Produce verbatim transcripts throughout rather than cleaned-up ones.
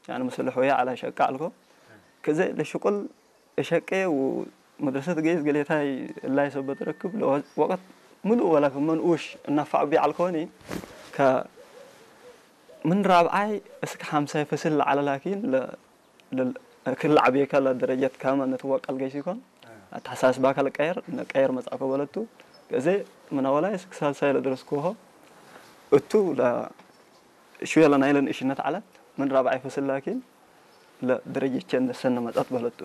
ያኒ ምስል ሆየ ዐለ ሸቄ ዐልኮ። ከዘ ለሽቁል እሸቄ ወመድረሰት ገይስ ገሌታይ እላይ ሰበት ረክብ ለወ-፣ ወቅት ምሉእ ወለ ክመ ንኡሽ እነፋዕ እቢ ዐልኮኒ። ከ-፣ ምን ራብዓይ እስክ ሐምሳይ ፈስል ለዐለ ላኪን ለ-፣ ለል-፣ ክል ለዐቤከ ለደረጀት ካመ ንትወቀል ገይስ ኢኮን። አተሐሳስባከ ለቀየር፣ ነቀየር መጽአኮ በለቱ። ከዘ ምን አወላይ እስክ ሳልሳይ ለደረስኩሆ እቱ ለ-፣ ሽወየ ለናይለን እሽነት ዐለት። ምን ራብዓይ ፈስል ላኪን ለደረጀቼ እንደ ሰነ መጸት በለቱ።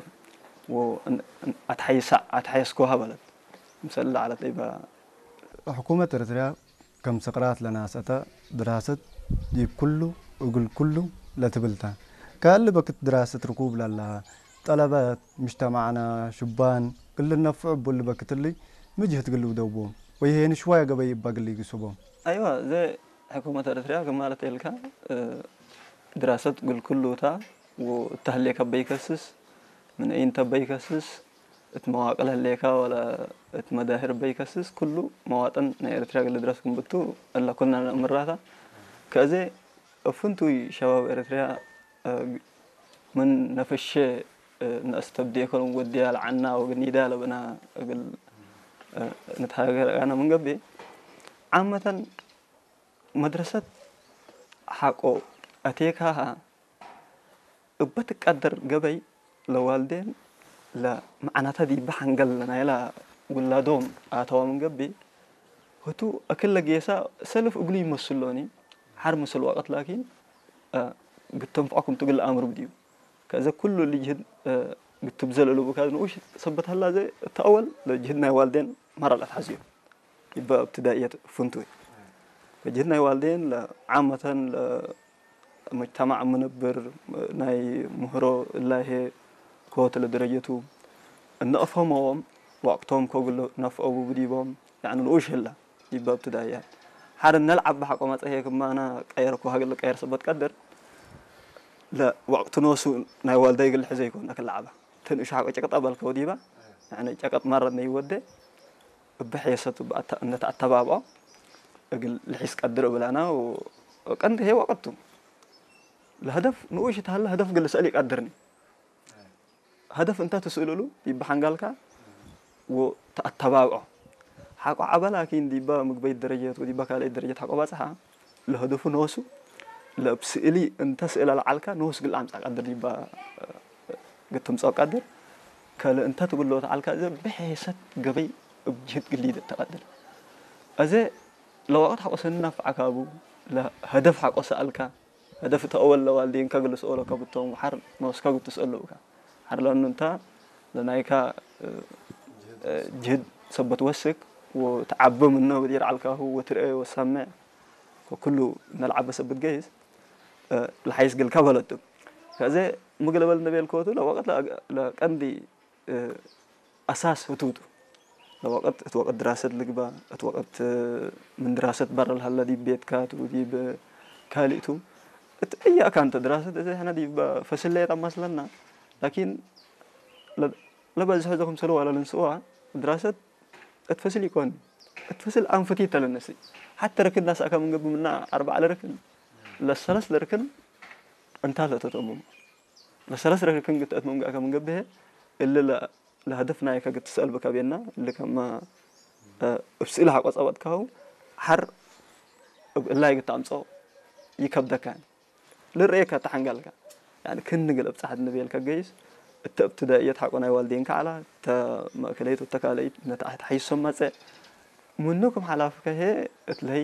ወእን-፣ እን-፣ አትሐይሳ-፣ አትሐየስኮሃ በለት። ምሰል ለዐለት እበ ሕኩመት ኤረትርያ ከም ስቅራት ለናስአተ፣ ድራሰት ዲብ ኩሉ እግል ኩሉ ለትብል ተ። ከእሊ በክት ድራሰት ርኩብ ለለሀ፣ ጠለበት፣ ምጅተማዕና፣ ሹባን፣ እሊ ነፍዑ እቡ እሊ በክት እሊ፣ ሚ ጅህድ እግል ልውደው ቦም፣ ወይሄኒ ሽዋየ ገበይ እበ እግል ኢግሱ ቦም። አይወ፣ ዘ ሕኩመት ኤረትርያ ክማለት ኤልካ፣ እ፣ ድራሰት እግል ኩሉ ተ፣ ወእተ ህሌከ እበ ኢከስስ፣ ምን አይን ተ እበ ኢከስስ፣ እት መዋቅል ህሌከ ወለ እት መዳህር እበ ኢከስስ፣ ኩሉ መዋጥን ናይ ኤረትርያ እግል ልድረስ ክም ብቱ፣ እለ ኩልነ ነአምራታ። ከእዜ እብ ፍንቱይ ሸባብ ኤረትርያ፣ እ፣ ምን ነፍሼ፣ እ፣ ነአስተብዴኮ ወድያ ለዐና ወግኒዳ ለብና እግል፣ እ፣ ንትሃገር አነ ምን ገብእ፣ ዓመተን መድረሰት ሐቆ አቴካሀ እበ ትቀደር ገበይ ለዋልዴን ለመዕናተ ዲበ ሐንገል ለናይላ ውላዶም አተዋ ምን ገብእ፣ ህቱ እክለ ጌሰ ሰልፍ እግሉ ይመስሎኒ፣ ሐር ምስል ወቅት ላኪን፣ እ፣ ግድ ተንፍዖ ክምቱ እግል ለአምር ብድዩ። ከዘ ኩሉ እሊ ጅህድ፣ እ፣ ግድ ትብዘል እሉ ብካዝ ንኡሽ ሰበት ሀላ ዘ እተ አወል ለጅህድ ናይ ዋልዴን መረ ለአትሐዝዩ። ዲበ እብትዳእየት ፍንቱይ። ከጅህድ ናይ ዋልዴን ለዓመተን ለመጅተማዕ ምንብር ናይ ምህሮ እላሄ ኮት ለደረጀቱ እነ አፍሀመዎም ወቅቶም ኮግሎ ነፍአው ዲቦም፣ ያኒ ንኡሽ ህለ ዲበ እብትዳእያት። ሐር እነ ለዐበ ሐቆ መጽአ ህዬ ክማነ ቀየርኮ ሀገ ለቀየር ሰበት ቀድር ለወቅት ኖሱ ናይ ዋልዳይ እግል ልሕዘ ኢኮን አክል ለዐበ። ተንእሹ ሐቆ ጨቅጥ አባልከው ዲበ፣ ያኒ ጨቅጥ መረት ነይወዴ እብ ሔሰቱ እብ አተ-፣ እንደ ተአተባብዖ እግል ልሒስ ቀድር እብላና ወቀንድ ህዬ ወቅቱ። ለሀደፍ ንኡሽ እት ሀለ ሀደፍ እግል ልስአል ኢቀድርኒ። ሀደፍ እንተ ትስእል እሉ ዲበ ሐንጋልካ ወተአተባብዖ። ሐቆ ዐበ ላኪን ዲበ ምግበይት ደረጀት ወዲበ ካልአይት ደረጀት ሐቆ ባጽሐ። ለሀደፉ ኖሱ፣ ለእብ ስእሊ እንተ ስእለ ለዐልካ ኖሱ እግል አምጽእ ቀድር ዲበ፣ እግል ትምጽኦ ቀድር፣ ከለ እንተ ትብሎ ተዐልካ እዘ ብሔሰት ገበይ እብ ጅህድ ግሊድ ተቀድር። አዜ ለወቅት ሐቆ ሰኒ ነፍዐካ ቡ፣ ለሀደፍ ሐቆ ሰአልካ፣ ሀደፍ እተ አወል ለዋልዴንከ እግል ልስአሎ ከብቶም ወሐር ኖስከ እግል ትስአሎ ብካ። ሐር ለእኑ እንተ ለናይካ፣ እ፣ እ፣ ጅህድ ሰበት ወስክ ወትዐቢ ምነ ወዲር ዐልካሁ ወትርኤ ወሰምዕ ወኩሉ እነ ለዐበ ሰበት ገይስ፣ እ፣ ለሐይስ ግልከ በለቱ። ከእዜ ምግል እበል እንዴ ቤልኮቱ ለወቅት ለአግ-፣ ለቀንዲ፣ እ፣ አሳስ ህቱ ቱ። ለወቅት፣ እት ወቅት ድራሰት ልግበእ፣ እት ወቅት ምን ድራሰት በረ ለሀለ ዲብ ቤትካ ቱ፣ ዲብ ካልእ ቱ። እት አይ አካን ተ ድራሰት፣ እዜ ሕነ ዲብ ፈስል ሌጠ መስለና። ላኪን ለ-፣ ለበዝሖ እዘ ክምሰል ወለ ልንስእዋ፣ ድራሰት እት ፈስል ኢኮን፣ እት ፈስል አንፍቲት ተ ለነስእ። ሐተ ርክን ነስአከ ምን ገብእ ምነ አርበዕ ለርክን፣ ለሰለስ ለርክን እንታት ለተትአመሙ። ለሰለስ ረክን ግትአት መምገአከ ምን ገብእ፣ እሊ ለ-፣ ለሀደፍ ናይከ ግትሰአል ብከ ቤና፣ እሊ ከመ፣ እ፣ እብ ስእል ሐቆ ጸበጥካሁ፣ ሐር እብ እላይ ግትአምጽኦ ይከብደካ። ልርኤከ ተሐንጋልከ። ያኒ ክን እግል እብጸሐት እንቤልከ ገይስ፣ እተ እብትዳእየት ሐቆ ናይ ዋልዴንከ ዐላ፣ እተ መእከለይት ወተካለይት ነተ ተሐይሶም መጽእ። ምኑ ክም ሐላፍከ ህዬ እት ለህይ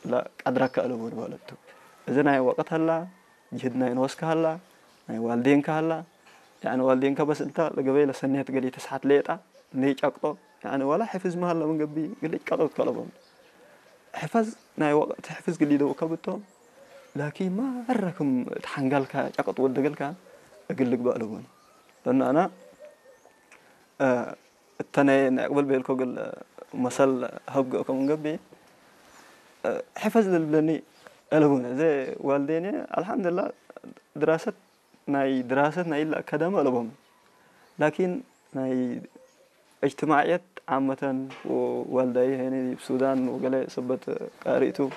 ለቀድረከ አለቡ ንበለቱ። እዘ ናይ ወቅት ሀላ፣ ጅህድ ናይ ኖስከ ሀላ፣ ናይ ዋልዴንከ ሀላ። ያኒ ዋልዴንከ በስ እንተ ለገበይ ለሰኔት ገሌ ተስሐት ሌጠ፣ እንዴ ጨቅጦ፣ ያኒ ወላ ሕፍዝ መሀለ ምን ገብእ፣ ግል ጨቅጦት ከለቦም። ሕፈዝ ናይ ወቅት ሕፍዝ ግል ይደው ከብቶም፣ ላኪን መረ ክም ተሐንጋልካ ጨቅጥ ወደገልካ፣ እግል ልግበእ ለቦም። ለእነ አነ፣ እ፣ እተ ናይ፣ ናይ ቅብል ቤልኮ እግል መሰል ሀብገ እኮ ምን ገብእ፣ እ፣ ሕፈዝ ለልብለኒ አለቡነ። እዘ ዋልዴነ፣ አልሐምዱሊላህ፣ ድራሰት ናይ፣ ድራሰት ናይ ኢለ አካዳሚ አለቦም። ላኪን ናይ እጅትማዕየት ዓመተን ወዋልዳይ ሄኒ ዲብ ሱዳን ወገሌ ሰበት ቃሪ ቱ፣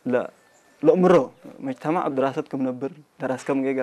ለ-፣ ለእምሮ መጅተማዕ እብ ድራሰት ክም ነብር፣ ደራስ ከም ጌገ